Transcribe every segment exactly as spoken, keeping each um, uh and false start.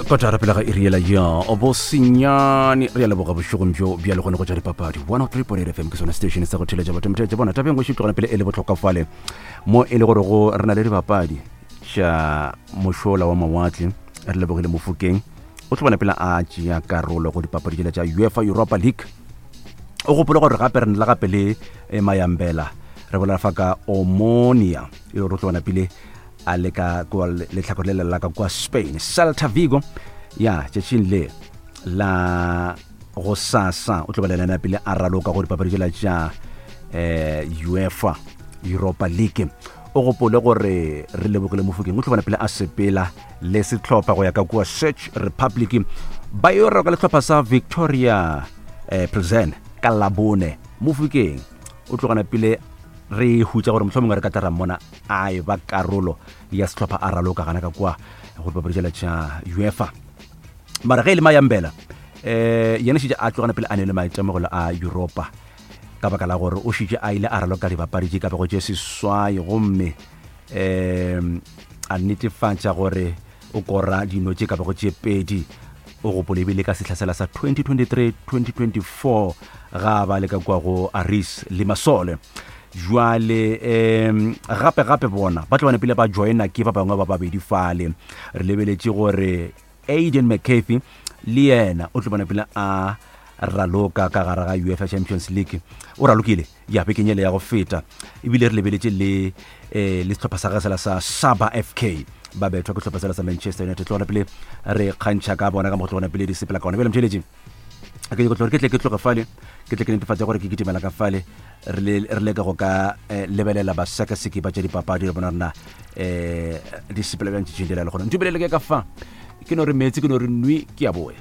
Kotara pele ga iri yela ya bosenyane. Re a leboga bošegong bjo bja lekgone go tša dipapadi. one oh three point eight F M ke sone station sa go theletša batho. Motheletša bona tabeng go šitogana pele e le bohlokwa fale mo e le gore go re na le dibapadi tša mošola wa mawatle. Re lebogile Mofokeng, o tlo bona pele a tšea karolo go dipapadi tšela tša UEFA Europa League. O gopole gore gape re ne le gape le eh, Mayambela, re bolela fa ka Omonia, e le gore o tlo bona pele a le ka kua letlhakore le le la ka kua Spain, Celta Vigo. Ya tšatšing le la go sasa o tlo ba lelana pele a raloka go dipapadi tšela tša um UEFA Europa League. O gopole gore re lebogile Mofokeng o tlo bona pele a sepela le sehlopha go ya ka kua Czech Republic, ba yo raloka le sehlopha sa Victoria eh, Plzen ka Labone. Mofokeng o tlogana pele re hutša gore mohlomongwe re ka tla ra mmona a e ba karolo ya sehlopha a raloka gana ka kua go dipapadi tšela tša UEFA. Mara ge e le Mayambela, um yena šetše a tlogana pele a ne le maitemogelo a Europa ka baka la gore o šetše a ile a raloka dibapadi tše ka bego tše seswai, gomme um a netefatša gore o kora dino tše ka bego tše pedi. O gopole ebile ka sehla sela sa twenty twenty-three twenty twenty-four ga ba le ka kua go Aris Limassol. Jwale um gape gape bona ba tlo bana pele ba joina ke ba bangwe ba babedi fale. Re lebeletše gore Aiden McCarthy le yena o tlo bona pele a raloka ka gare ga UEFA Champions League, o ralokile ya bekeng ele ya go feta. Ebile re lebeletše le eh, le sehlopha sa gage sela sa Saba F K, ba bethwa ke sehlopha sela sa Manchester United. Tlogana pele re kgantšha ka bona ka mo go tlogana pele di sepela ka gona. Bjale mtheletše ke nyako gore ke tle ke tloge fale, ke tle ke netefatše gore ke kitimela ka fale, re le- re leke go ka eh, lebelela basekaseki ba tša dipapadi, re bona rena um di sepela bjang tšatšing le la le gona. Ntumelele ke ka fa ke no re meetse, ke no re nwi, ke a boya.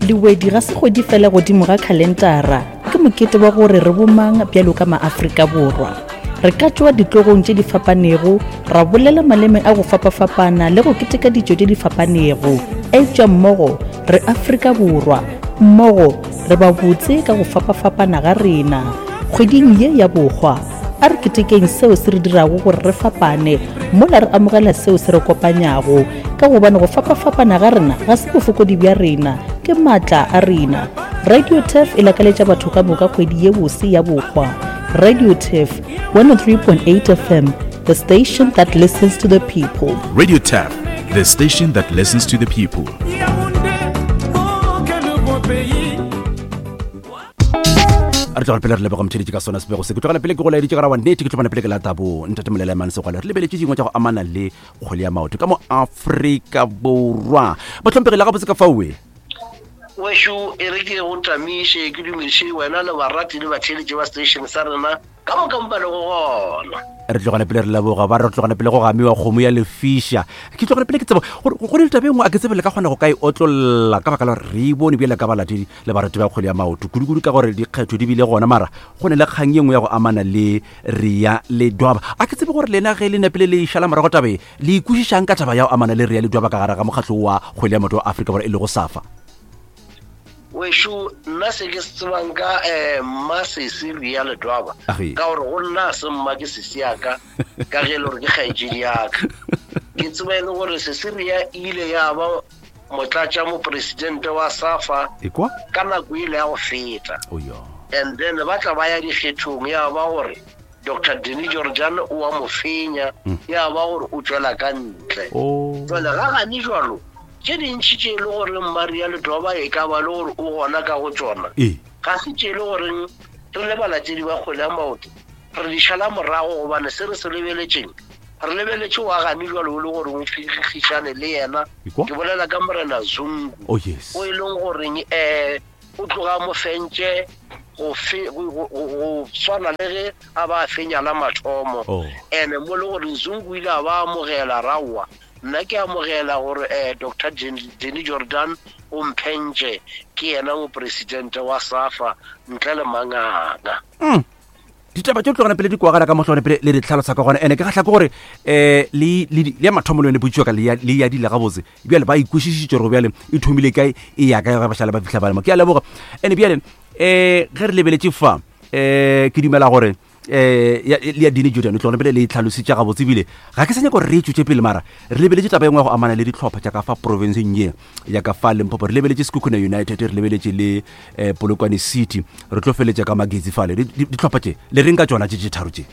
Lewedi ga se kgwedi fela godimo ga khalentara, ke mokete wa gore re bomang bjalo ka maAfrika Borwa. Re ka tšwa ditlogong tše di fapanego, ra bolela maleme a go fapafapana le go keteka ditšo tše di fapanego, eupša mmogo re Afrika Borwa, mmogo re ba botse ka go fapafapana ga rena. Kgweding ye ya bokgwa, a re ketekeng seo se re dirago gore re fapane mola re amogela seo se re kopanyago, ka gobane go fapafapana ga rena ga se bofokodi bja rena, ke maatla a rena. Radio Turf e lakaletša batho ka moka kgwedi ye bose ya bokgwa. Radio Turf one oh three point eight F M, the station that listens to the people. Radio Tap, the station that listens to the people. Yaoundé, oh, quel beau pays. Re tlogela pele re leboga motheletše ka sona sebego se. Ke tlogela pele ke go laeditše gara wa nnete, ke tlogela pele ke latabo ntate Molela Mane Segwale. Re lebeletše dingwe tša go amana le kgwele ya maoto ka mo Afrika Borwa. Batlhompegile gabotse ka faoe. Wešo, e re ke go tamiše, ke dumediše wena le barati le batheeletši ba station sa rena ka moka mo ba lego gona. Re tlogela pele re leboga ba re tlogela pele go gamiwa kgomo ya lefiša. Ke tlogela pele ke tseba gore go ne le taba e nngwe, a ke tsebe le ka kgona go ka e otlolla ka baka la gore re e bone bjale ka balatedi le barati ba kgwele ya maoto, kudu-kudu ka gore dikgetho di bile gona. Mara go ne le kgang ye nngwe ya go amana le Rea Ledwaba. A ke tsebe gore lena ge le napile le išala morago tabe le ikwešišang ka taba ya go amana le Rea Ledwaba ka gare ga mokgatlo wa kgwele ya maoto wa Afrika Borwa e lego SAFA. Wešo, nna se ke se tsebang ka um mmasese Rea Ledwaba, Age. ka gore go nna a se mma, ke sesi yaka, ka ge e le gore ke kgaetšedi yaka, ke tseba e le gore sesi Rea e ile ya ba motlatša mopresidente wa SAFA Ekwa. ka nako ile ya go feta. Oyo. And then ba tla ba ya dikgethong, ya ba gore Doctor Danny Jordan o wa mo fenya, ya ba gore o tswela ka ntle. O. Jale ga gane jalo tše dintšhi tše e le goreng Maria Ledwaba e ka ba le gore o gona ka go tsona, ee ga se tše e le goreng re le balatedi ba kgwele ya maoto re di šala morago, gobane se re se lebeletšeng, re lebeletše wa gane jalo o le gore o figišane le yena. Ekwa. Ke bolela ka morena Zungu, Oh yes. o e leng goreng um o tloga mo fentše go fe- go- go- go go swana le ge a ba a fenya la mathomo. Oh. And mo le gore Zungu o ile a ba amogela raowa, nna ke amogela gore um Doctor Danny Jordan o mphentše, ke yena mopresidente wa SAFA ntle le manganga. Mm. ditaba tše tlogana pele di kwagala ka mohlogana pele le di tlhalosa ka gona. Ene ke kgahla ke gore um le le- le ya mathomo le yone potšiwa ka le ya- le yadile gabotse. Bjale ba ikwešišitše gore bjale e thomile kae, e ya kae, ge ba šale ba fitlha ba lemo. Ke a leboga. Ene bjale um ge re lebeletše fa, um ke dumela gore eh ya le ya Dini Jordan o tlogone pele le itlhalositše gabotse ebile ga ke sa nyaka gore re e tšwetše pele mara re lebeletše taba e nngwe ya go amana le ditlhopha tša ka fa provinceng ye ya ka fa Limpopo re lebeletše Sekhukhune United re lebeletše le eh, Polokwane City re tlo feletša ka Magezi fale Di- di- ditlhopha tše le reng ka tšona tše tše tharo tše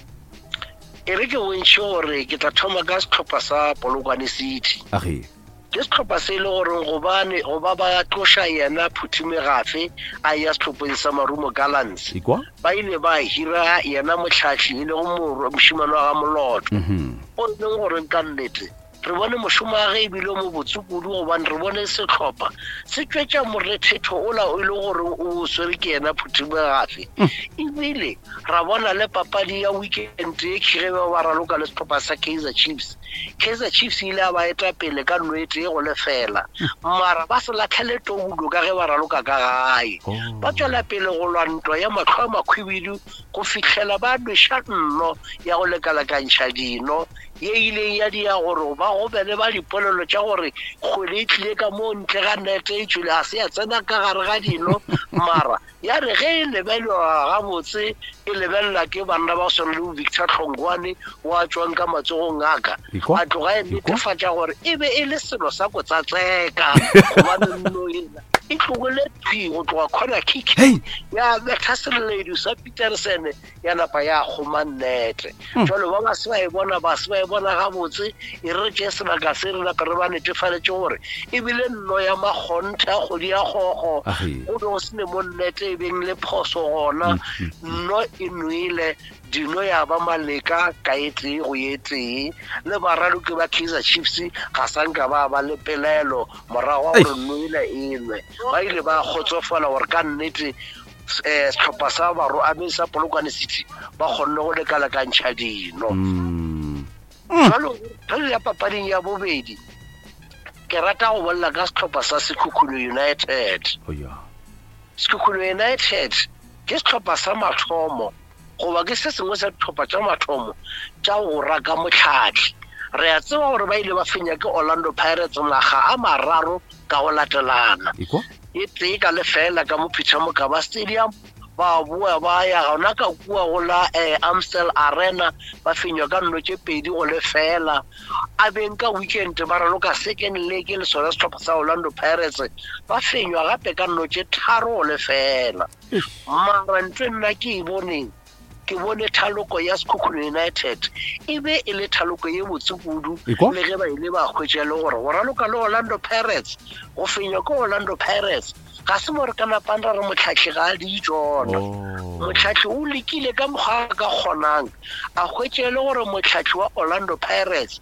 e re ke bontšhe gore ke tla thoma ka setlhopha sa Polokwane City age ke setlhopha se e le goreng gobane goba ba tloša yena Phuthi Megafe a ya setlhopheng sa Marumo Gallants ikwa ba ile ba hira yena motlhahli e lego morwa mošemane wa ga Moloto mhm o e leng gore ka nnete re bone mošomo wa ge ebile o mo botse kudu gobane re bone setlhopha se tšwetša morethetho ola o e le gore o swere ke yena Phuthi Megafe ebile ra bona le papadi ya weekend e khige ba ba raloka le setlhopha sa Kaizer Chiefs Kaizer Chiefs ile a ba eta pele ka nno e tee go lefela mara ba se latlhele toulo ka ge ba raloka ka gae Oh. ba tswela pele go lwa ntwa ya mahlo a makhwibidu go fihlela ba nweša nno ya go lekalekantšha dino ye ileng ya dia gore ba gobele ba dipolelo tša gore kgwele e tlile ka mo ntle ga nete e tšwele ga se ya tsena ka gare ga dino mara ya re ge e lebelelwa gabotse e lebelela ke banna ba go swana le bo Victor Hlongwane wa tšwang ka matsogong a ka Ikwa? a tloga e Ikwa? netefatša gore e be e le selo sa go tsatseka gobane nno ena e tlogile thwi go tloga corner kick Hey! ya betha seleledu sa Peterson ya napa ya kgoma nnete jalo ba ba se ba e bona ba se ba e bona gabotse e re tšee sebaka se re napa re ba netefaletše gore ebile nno ya makgonthe a kgodi ya kgogo Age. go be go sene mo nnete e beng le phoso gona nno e nwele dino ya ba maleka ka e tee go ye tee le baraloki ba Kaizer Chiefs ga sa nka ba ba le pelaelo morago ga gore nno ela e nwe ba ile ba kgotsofala gore ka nnete um setlhopha sa baro a sa Polokwane City ba kgonne go lekalekantšha dino mm jalo re ya papading ya bobedi ke rata go bolela ka setlhopha sa Sekhukhune United oh ya Sekhukhune United ke setlhopha sa mathomo goba ke se sengwe sa ditlhopha tša mathomo tša go raka motlhatlhi re a tseba gore ba ile ba fenya ke Orlando Pirates naga a mararo ka go latelana ikwa e tee ka lefela ka mo Peter Mokaba Stadium ba boa ba ya gona ka kua go la eh, Amstel Arena ba fenywa ka nno tše pedi go lefela a beng ka weekend ba raloka second leg le sona setlhopha sa Orlando Pirates ba fenywa gape ka nno tše tharo go lefela mara ntho e nna ke e boneng ke bone thaloko ya Sekhukhune United e be e le thaloko ye botse kudu Ekwa? le ge ba ile ba hwetša le gore go raloka le Orlando Pirates go fenywa ke Orlando Pirates ga se mo re ka napang ra re motlhatlhi ga a di tsona oh motlhatlhi o lekile ka mokgwa a ka kgonang a hwetše le gore motlhatlhi wa Orlando Pirates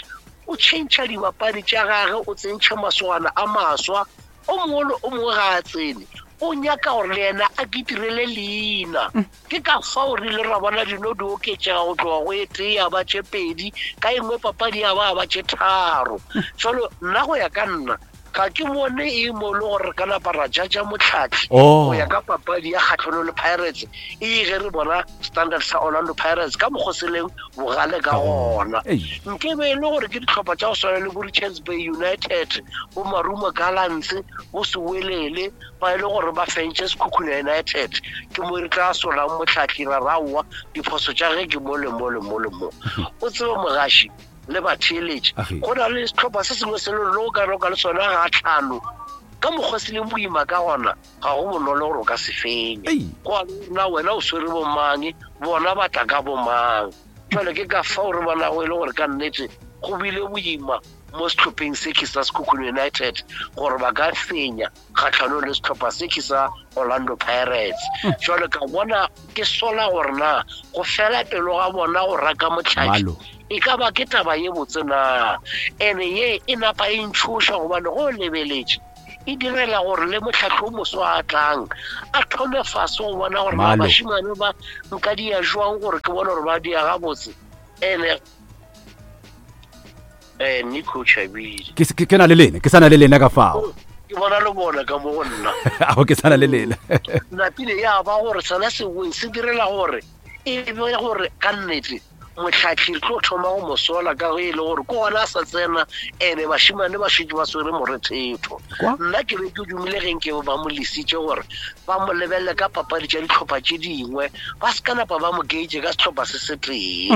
o tšhentšha dibapadi tša gage o tsentšha masogana a maswa o mongwe le o mongwe ga a tsene o nyaka gore le yena a ketirele leina ke ka fao re ile ra bona dino di oketšega go tloga go e tee ya ba tše pedi ka e nngwe papadi ya ba ba tše tharo jalo nna go ya ka nna ga ke bone e mo le gore re ka napa ra judge motlhatlhi Oh. go ya ka papadi ya kgatlhanong le Pirates e ge re bona standard sa Orlando Pirates ka mokgwa se leng bogale ka gona Ei. nke be e le gore ke ditlhopha tša go swana le bo Richards Bay United bo Marumo Gallants bo Sewelele ba e le gore ba fentše Sekhukhune United ke mo re tla solang motlhatlhi ra raowa diphoso tša ge ke mo le mo le mo le mo o tsebe mogaši le batheeletši Age. go na le setlhopha se sengwe se le le o ka roka le sona ga tlhano ka mokgwa se leng boima ka gona ga go bonolo gore o ka se fenya Ei. go a le gore na wena o swere bomang bona ba tla ka bomang jale ke ka fao re bonago e le gore ka nnete go bile boima mo setlhopheng se ke sa Sekhukhune United gore ba ka fenya kgatlhanong le setlhopha se ke sa Orlando Pirates jale ka bona ke sola gore na go fela pelo ga bona go raka motlhatlhi Malo. e ka ba ke taba ye botse na ene ye e napa e ntšhoša gobane go o lebeletše e direla gore le motlhatlhi o moso a tlang a thome fase go bona gore na Malo. bašemane ba nka dia jwang gore ke bone gore ba dia gabotse ene um nico chabile ke ke- ke na le lena ke sa na le lena ka fao ke bona le bona ka mo go nna ao ke sa na le lena napile ya ba gore sona seweng se direla gore e be gore ka nnete motlhatlhi re tlo thoma go mosola ka ge e le gore ke gona a sa tsena ene bašemane ba šetše ba swere morethetho Nna ke be ke dumile ge nke ba mo lesitše gore ba mo lebelele ka papadi tša ditlhopha tše dingwe, ba se ka napa ba mo gauge ka setlhopha se se tee.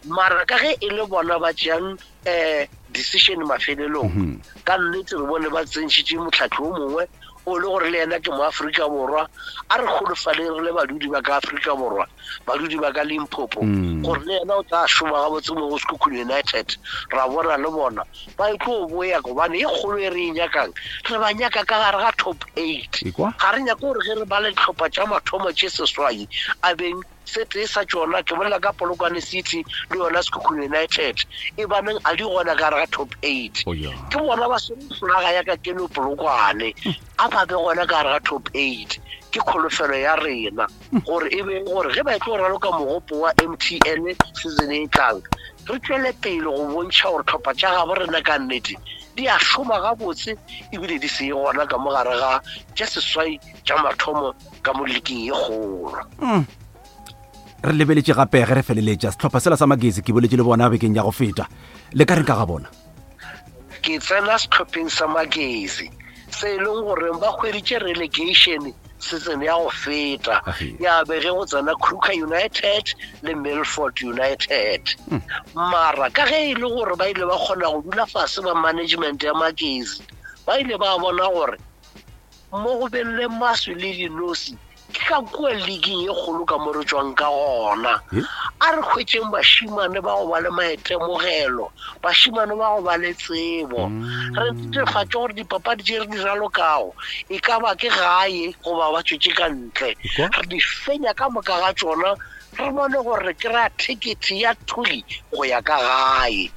Mara ka ge e le bona ba tšeang um decision mafelelong, ka nnete re bone ba tsentšhitše motlhahli o mongwe o le gore le yena ke mo Afrika Borwa. A re kgolofaleng re le badudi ba ka Afrika Borwa, badudi ba ka Limpopo, gore le yena o tla šoma gabotse mo go Sekhukhune United. Ra bona le bona ba e tlo boya, gobane e kgolo e re e nyakang re ba nyaka ka gare ga top eight. Ga re nyake gore ge re ba le dihlopha tša mathomo tše seswai a beng se tee sa tšona, ke bolela ka Polokwane City le yona Sekhukhune United, e baneng a di gona ka gare ga top eight. Ke bona ba swere flaga ya ka keno Polokwane, a ba be gona ka gare ga top eight. Ke kholofelo ya rena gore e be gore ge ba e tlo raloka mogopo wa M T N season e tlang, re tšwele pele go bontšha gore tlhopha tša gabo rena ka nnete di a šoma gabotse, ebile di se gona ka mo gare ga tša seswai tša mathomo ka mo leaking e kgolo. Re lebeletše gape ge re feleletša sehlopha sela sa Magezi, ke boletše le bona bekeng ya go feta, le ka reng ka ga bona? Ke tsena sehlopheng sa Magezi se e leng gore ba hweditše relegation season ya go feta, ya be ge go tsena Kruger United le Milford United. Mara ka ge e le gore ba ile ba kgona go dula fase ba management ya Magezi, ba ile ba bona gore mo go beng le maswi le dinosi ke ka kua leagueng e kgolo ka mo re tšwang ka gona. A re hwetšeng bašimane ba go ba le maitemogelo, bašimane ba go ba le tsebo, re netefatše gore dipapadi tše re di ralokago e ka ba ke gae goba ba tšwetše ka ntle, re di fenya ka moka ga tšona, re bone gore re kry-a ticket ya thuli go ya ka gae.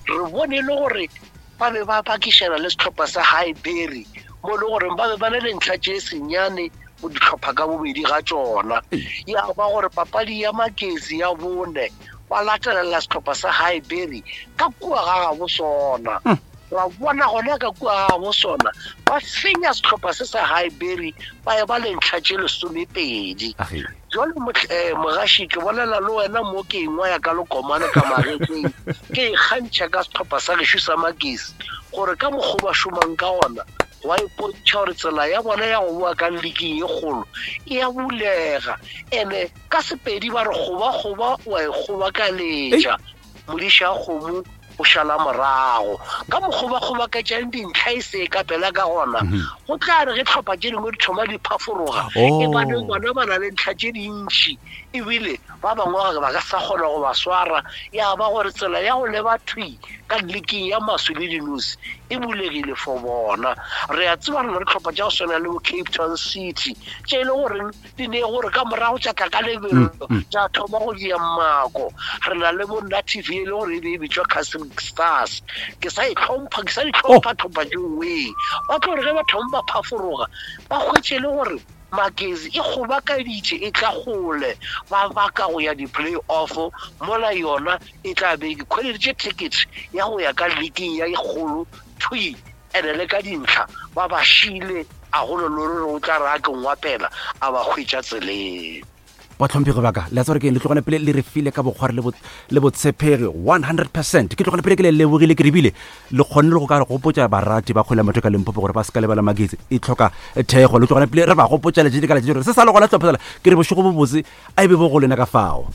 Re bone le gore ba be ba pakišana le sehlopha sa Highbury, mo le gore ba be ba na le ntlha tše senyane go dihlopha ka bobedi ga tšona. Ya ba gore papadi ya Magezi ya bone ba latelela sehlopha sa Highbury ka kua ga gabo sona. Ra bona gona ka kua ga gabo sona ba fenya sehlopha se sa Highbury, ba e ba le ntlha tše lesomepedi. Jwale mogaši, ke bolela le wena mo ke engwa ya ka lekomane ka magetleng, ke ikgantšha ka sehlopha sa gešo sa Magezi gore ka mokgwa ba šomang ka gona wa ipontšha gore tsela ya bona ya go boa ka leagueng e kgolo e a bulega. Ene ka Sepedi ba re goba-goba wa e kgobakaletša, modiša kgomo o šala morago. Ka mokgwa ba kgobaketšang dintlha e se ka pela ka gona, go tla re ge tlhopha tše dingwe di thoma di phaforoga, e bane bona ba na le ntlha tše dintši, ebile ba bangwe ba ka sa kgona go ba swara. Ya ba gore tsela ya go leba thwi ka leagueng ya maswi le dinosi e bulegile for bona. Re a tseba re na le tlhopha tša go swana le bo Cape Town City tše e le goreng di ne gore ka morago tša tla ka lebelo tša thoma go dia mako. Re na le bo Native e le gore e be e bitšwa Castle Stars. Ke sa e tlhompha, ke sa di tlhompha tlhopha tšeoe. Ba tlo re ge ba thoma ba phaforoga, ba hwetše le gore Magezi e kgobakaditše e tla kgole, ba baka go ya di-play-off, mola yona e tla be e khweleditše ticket ya go ya ka leagueng ya e kgolo thwi, ene le ka dintlha ba ba šile, a golo lore re o tla re a ke ngwapela a ba hwetša tseleng. Batlhomphegi ba ka, le a tseba gore ke eng, le tlogane pele le re file ka bokgwari le bo-, le botshepegi one hundred percent. Ke tlogane pele ke le lebogile, ke rebile le kgonne le go ka re gopotša barati ba kgwele ya maoto ka Limpopo gore ba se ka lebala Magezi e tlhoka thekgo. Le tlogane pele re ba gopotša letšatši ka letšatši gore se sa le gona sehlopha sela. Ke re bošego bo botse a e be bo go lena ka fao.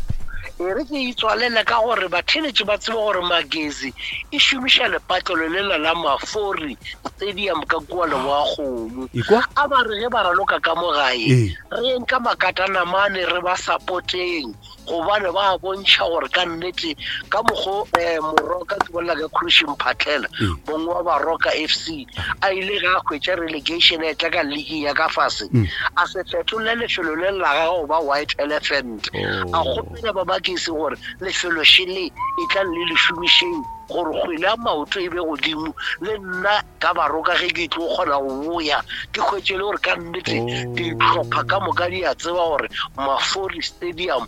E re ke itswalele ka gore batheeletši ba tsebe gore Magezi e šomiša lepatlelo lela la Mafori Stadium ka kua Leboa-Kgomo. Ekwa? A ba re ge ba raloka ka mo gae, Ee. re yeng ka makatanamane re ba support-eng, gobane ba bontšha gore ka nnete ka mokgo, eh, Moroka, ke bolela ka Khurushi Mphatlhela, Ee. mongwe wa Baroka F C, a ile ge a hwetša relegation a etla ka league ya ka fase, Mm. a se fetole lefelo le la gagwe go ba White Elephant. Oh. A kgopela ba Magezi gore lefelo šele e tla le le šomišeng gore kgwele ya maoto e be godimo, le nna ka Baroka ge ke tlo kgona go boya ke hwetše le gore ka nnete Oh. dihlopha ka moka di a tseba gore Mafori Stadium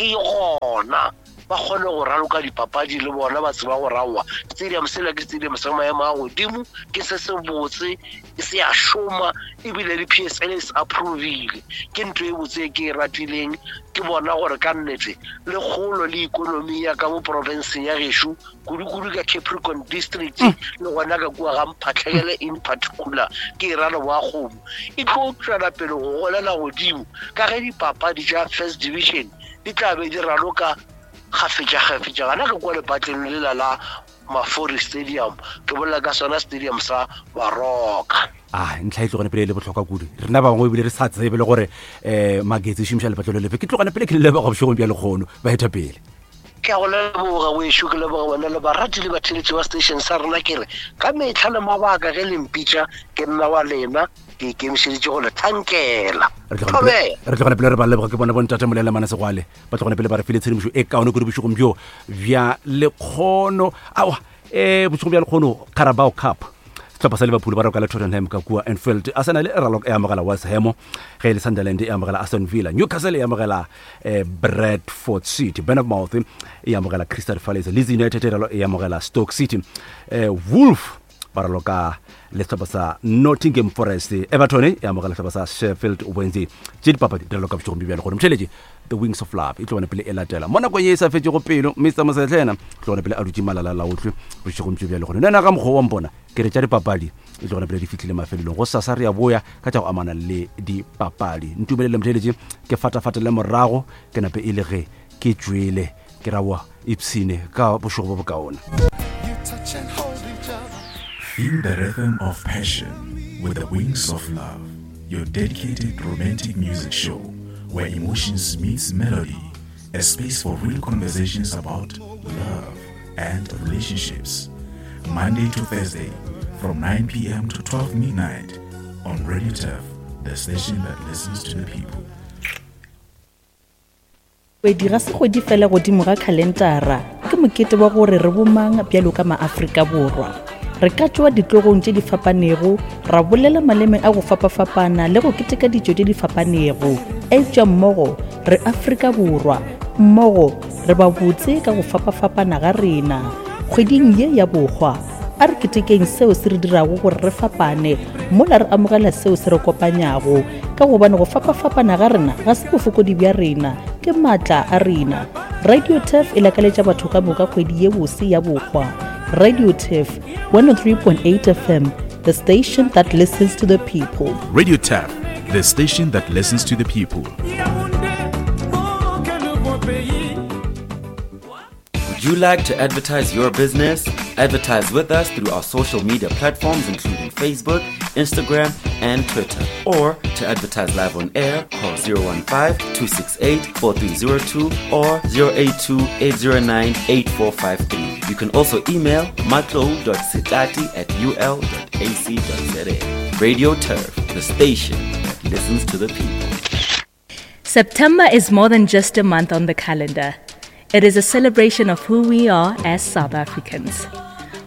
e gona. ba kgone go raloka dipapadi le bona ba tseba go raowa stadium sela ke stadium sa maemo a godimo ke se se botse se a šoma ebile le P S L e se approvile ke ntho e botse ke e ratileng ke bona gore ka nnete le kgolo le ikonomi ya ka mo provinceng ya gešo kudu-kudu ka Capricorn district le gona ka kua ga Mphatlhele in particular ke e ra Leboa-Kgomo e tlo tšwela pele go golela godimo ka ge dipapadi tša first division di tla be di raloka kgafetša-kgafetša gana ka kua lepatleng lela la Mafori Stadium ke bolela ka sona stadium sa Baroka. Ah, ntlha e tlogane pele e le bohlokwa kudu rena ba bangwe ebile re sa tsebe le gore um Magetse e šomiša lepatlelo lefe ke tlogane pele ke le leboga bošegong bja lekgono baetapele. Ke a go leboga wešo ke leboga wena le barati le batheletši ba station sa rena ke re ka metlha le mabaka ge le mpitša ke nna wa lena ke ikemišeditše go le thankela. Re tlogane pele re ba leboga ke bona bontate Molela Mana Segwale ba tlogane pele ba re file tshedimošo e kaone kudu bošegong bjo bja lekgono aowa um bošegong bja lekgono Carabao Cup sehlopha sa Liverpool ba raloka le Tottenham ka kua Anfield Arsenal e raloka e amogela West Ham ge e le Sunderland e amogela Aston Villa Newcastle e amogela eh, Bradford City Bournemouth e amogela Crystal Palace Leeds United e amogela Stoke City eh, Wolf ba raloka le sehlopha sa Nottingham Forest Everton e amogela sehlopha sa Sheffield Wednesday tše dipapadi di raloka bošegong bjo bja lekgono motheletši The Wings of Love e tlogane pele e latela mo nakong ye e sa fetšego pelo Mister Mosetlhena tlogane pele a dutše malala laotlwe bošegong bjo bja lekgono nna ka mokgwa wa mpona ke re tša dipapadi e tlogane pele di fihlile mafelelong go sasa re ya boya ka tša go amana le dipapadi ntumelele motheletši ke fatafatele morago ke nape e le ge ke tšwele ke rawa ipshine ka bošego bo bokaone. Feel the rhythm of passion with the Wings of Love, your dedicated romantic music show where emotions meets melody, a space for real conversations about love and relationships. Monday to Thursday from nine p.m. to twelve midnight on Radio Turf, the station that listens to the people. Kgwedi ga se kgwedi fela godimo ga khalentara ke mokete wa gore re bomang bjalo ka maAfrika Borwa. Re ka tšwa ditlogong tše di fapanego ra bolela maleme a go fapafapana le go keteka ditšo tše di fapanego eupša mmogo re Afrika Borwa mmogo re ba botse ka go fapafapana ga rena. Kgweding ye ya bokgwa a re ketekeng seo se re dirago gore re fapane mola re amogela seo se re kopanyago ka gobane go fapafapana ga rena ga se bofokodi bja rena ke maatla a rena. Radio Turf e lakaletša batho ka moka kgwedi ye bose ya bokgwa. Radio Turf one oh three point eight F M, the station that listens to the people. Radio Turf, the station that listens to the people. Would you like to advertise your business? Advertise with us through our social media platforms including Facebook, Instagram, and Twitter. Or to advertise live on air, call zero one five, two six eight, four three zero two or zero eight two, eight zero nine, eight four five three. You can also email matlo dot sitati at u l dot a c dot z a. Radio Turf, the station that listens to the people. September is more than just a month on the calendar. It is a celebration of who we are as South Africans.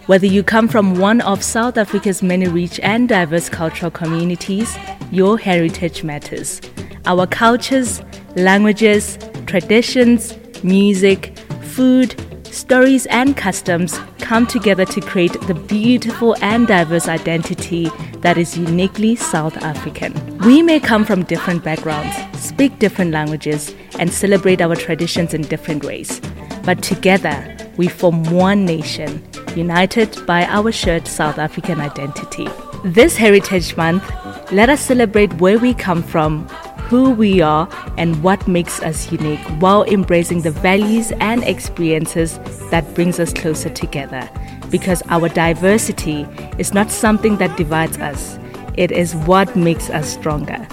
Whether you come from one of South Africa's many rich and diverse cultural communities, your heritage matters. Our cultures, languages, traditions, music, food, stories and customs come together to create the beautiful and diverse identity that is uniquely South African. We may come from different backgrounds, speak different languages, and celebrate our traditions in different ways. But together, we form one nation, united by our shared South African identity. This Heritage Month, let us celebrate where we come from, who we are, and what makes us unique, while embracing the values and experiences that brings us closer together. Because our diversity is not something that divides us, it is what makes us stronger.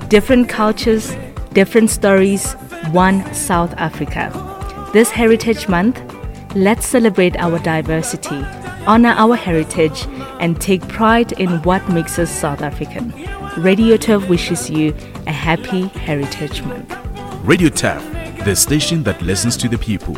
Different cultures, different stories, one South Africa. This Heritage Month, let's celebrate our diversity, honor our heritage, and take pride in what makes us South African. Radio Turf wishes you a happy Heritage Month. Radio Turf, the station that listens to the people.